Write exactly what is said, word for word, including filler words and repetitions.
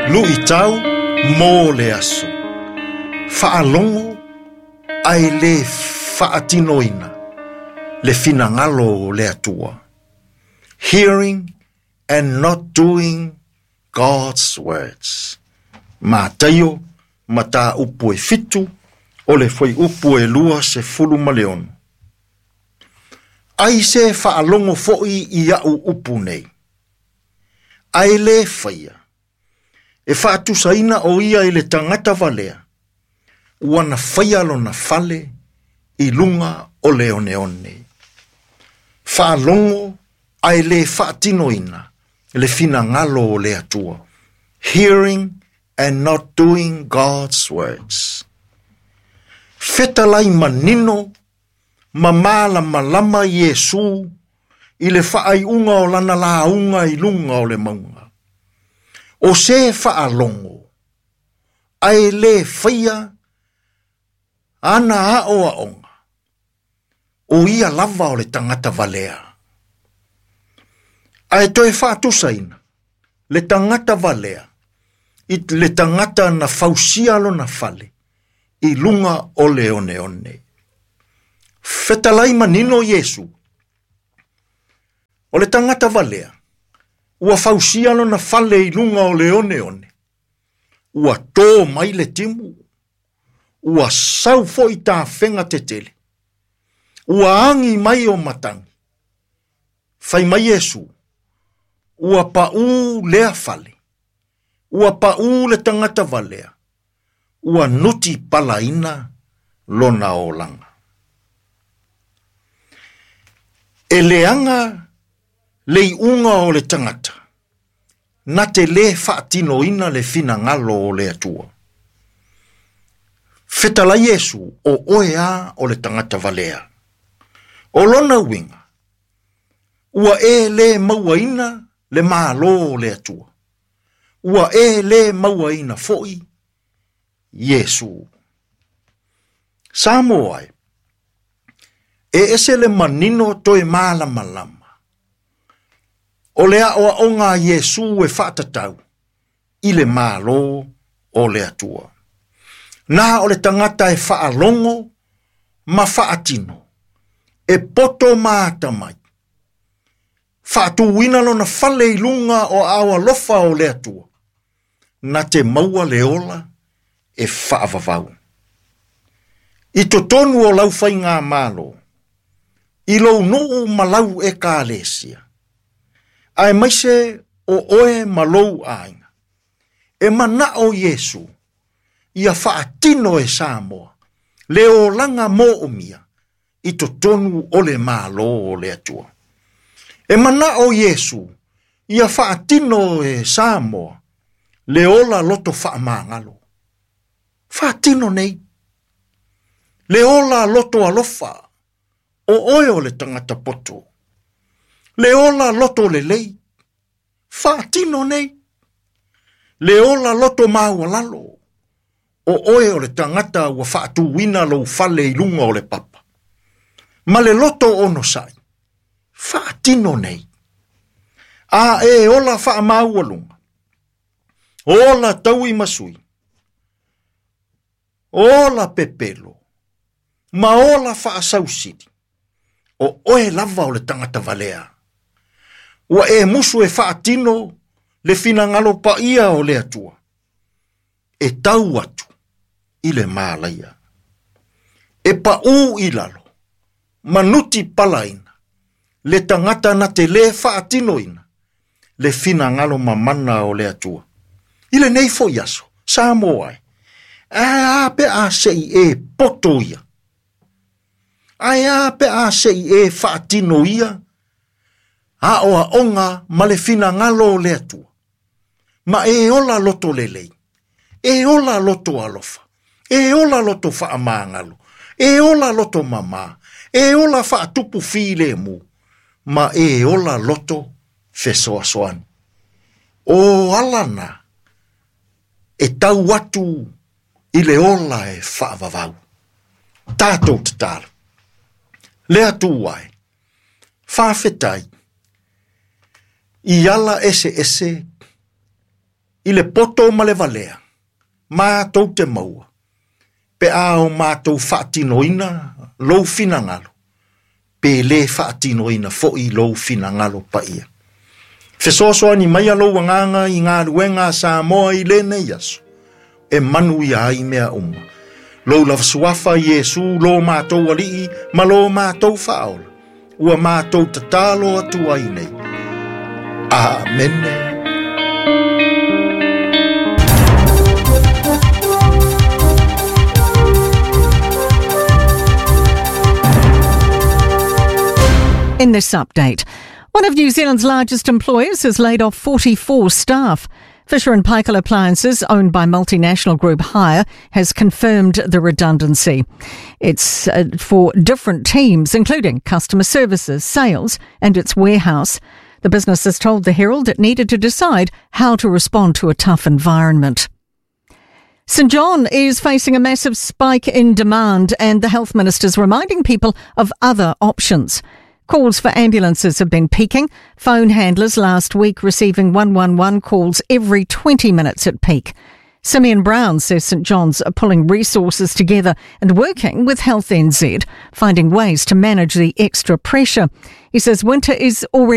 Luʻitau mo le aso. Faalogo ae lē faatinoina le finagalo o le Atua. Hearing and not doing God's words. Mataio mataupu e fitu o le fuaiupu e lua sefulu ma le ono. Ai se faalogo foʻi i aʻu upu nei. Ae lē faia. E faatusaina o ia i le tagata valea. Ua na faia lona fale i luga o le oneone. Faalogo ae lē faatinoina le finagalo o le Atua. Hearing and not doing God's words. Fetalai manino ma malamalama Iesu i le faaiuga o lana lauga i luga o le mauga. O se faalogo ae lē faia ana aʻoaʻoga. O ia lava o le tagata valea. Ae toe faatusaina le tagata valea i le tagata na fausia lona fale i luga o le oneone. Fetalai manino Iesu. O le tagata valea ua fausia lona fale i luga o le oneone. Ua tō mai le timu. Ua sau foʻi tafega tetele. Ua agi mai o matagi. Fai mai Iesu. Ua paʻū lea fale. Ua paʻū le tagata valea. Ua nuti palaina lona olaga. E leaga le iuga o le tagata. Na te lē faatinoina le finagalo o le Atua. Fetalai Iesu o oe a o le tagata valea. O lona uiga, ua e lē mauaina le Mālō o le Atua. Ua e lē mauaina foʻi Iesu. Samoa e, e ese le manino toe malamalama. O le aʻoaʻoga a Iesu e faatatau i le Mālō o le Atua. Na o le tagata e faalogo ma faatino, e poto ma atamai. Faatuina lona fale i luga o aao alofa o le Atua. Na te maua le ola e faavavau. I totonu o lau faigamalo, i lou nuu ma lau ekalesia, aemaise o oe ma lou aiga, e manaʻo Iesu ia faatino e Samoa le olaga moomia i totonu o le Mālō o le Atua. E manaʻo Iesu ia faatino e Samoa le ola loto faamagalo. Faatino nei. Le ola loto alofa o oe o le tagata poto. Le ola loto lelei. Faatino nei. Le ola loto maualalo. O oe o le tagata ua faatuina lou fale i luga o le papa. Ma le loto onosaʻi. Faatino nei. A e ola faamaualuga. Ola taui masui. Ola pepelo. Ma ola faasausili. O oe lava o le tagata valea. Ua e musu e faatino le finagalo paia o le Atua. E tau atu i le malaia. E paʻū i lalo. Manuti palaina. Le tagata na te lē faatinoina le finagalo mamana o le Atua. I lenei foʻi aso, Samoa e. Ae a pe a seʻi e poto ia. Ae a pe a seʻi e faatino ia aʻoaʻoga ma le finagalo o le Atua. Ma e ola loto lelei. E ola loto alofa. E ola loto faamagalo. E ola loto mamā. E ola faatupu filemu. Ma e ola loto fesoasoani. O ala na e tau atu i le ola e faavavau. Tatou tatalo. Le Atua e. Faafetai. I ala eseese I le poto ma le valea, mātou te maua, pe a o mātou faatinoina lou finagalo, pe lē faatinoina foʻi lou finagalo paia. Fesoasoani mai lou agaga i galuega a Samoa i lenei aso, e manuia ai mea uma. Lou lava suafa Iesu lo mātou alii ma lo mātou faaola. Ua mātou tatalo atu ai nei. Amene. In this update, one of New Zealand's largest employers has laid off forty-four staff. Fisher and Paykel Appliances, owned by multinational group Haier, has confirmed the redundancy. It's uh, for different teams, including customer services, sales and its warehouse. The business has told the Herald it needed to decide how to respond to a tough environment. St John is facing a massive spike in demand, and the health minister's reminding people of other options. Calls for ambulances have been peaking. Phone handlers last week receiving one one one calls every twenty minutes at peak. Simeon Brown says St John's are pulling resources together and working with Health N Z, finding ways to manage the extra pressure. He says winter is already